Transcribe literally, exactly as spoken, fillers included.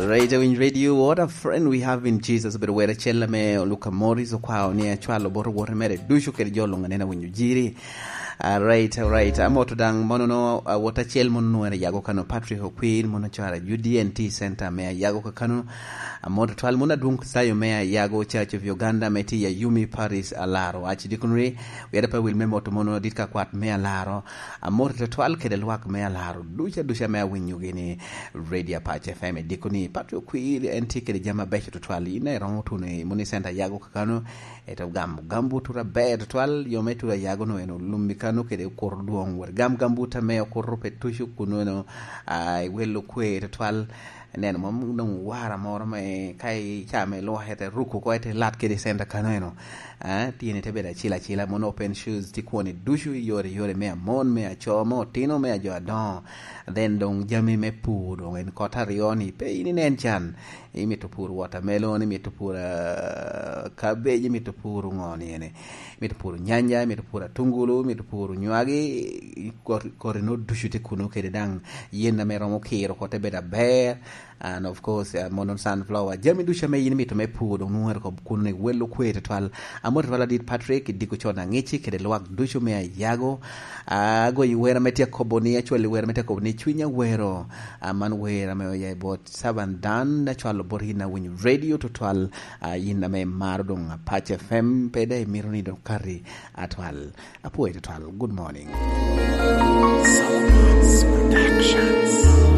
Right, Awiny Radio, what a friend we have in Jesus. Obedo wer acel ame Luka Morris okwao ni acwalo bot owote mere ducu kede jo luŋ anena winyo jiri. Alright, alright. Amoto daŋ mono no, awot acel mono nwere Ayago Kano, Patrick Okwir, mono cara U D N T Center me Ayago Kakano. Amoto twal mono adwong sayo me Ayago Church of Uganda me ti Ayumi Paris Alaro Archdeaconry. Wera pa wil me moto mono dit ka kwat me Alaro. Amoto twal kede lwak me Alaro duca duca me awinyo gini Radio Apac F M i dikoni. Patrick Okwir en tye kede jami abeco tutwal. In a iromo tuno i moni center Ayago Kakano, eto gam, gam butura ber tutwal, yo me tura Ayago no en olummi kano kede kuro dwong. Wot gam, gam buta me okuro pe tucu kuno no, ah, i welo kwe tutwal. Neno, mom dong wara moro me ka i ca me lwak ete ruko ko ete lat kede center kano eno. Ah, tyeni te bedo acil acila, mono open shoes, ti kwoni ducu i yore, yore me amon, me aco, me otino, me ajo adoŋo. Then dong jami me pur, dong en kot aryo ni, pe in inen can. Imito pur watermelon, imito pur, ah, cabbage, imito pur ŋo ni ene. Imito pur nyanya, imito pur atungulu, imito pur nywagi, i kot, koti no ducu tye kuno kede daŋ yen ame romo kiro kote bedo aber. And of course, uh, mono sunflower. Jami ducu ame in imito me pur, dong nwero kop kuno ni welo kwe tutwal. Amor tutwal adit Patrick, i diko con aŋici kede lwak ducu me Ayago. Ah, agoyi wera me tye akobo ni, actually wera me tye akobo ni cwiny awero. Ah, man wera me oya i bot Saban Dan, acwalo bot in awinyo radio tutwal. Ah, in ame maro dong Apac F M, pe da imito ni dong kati atwal. Apwoyo tutwal. Good morning. Solomon's Productions.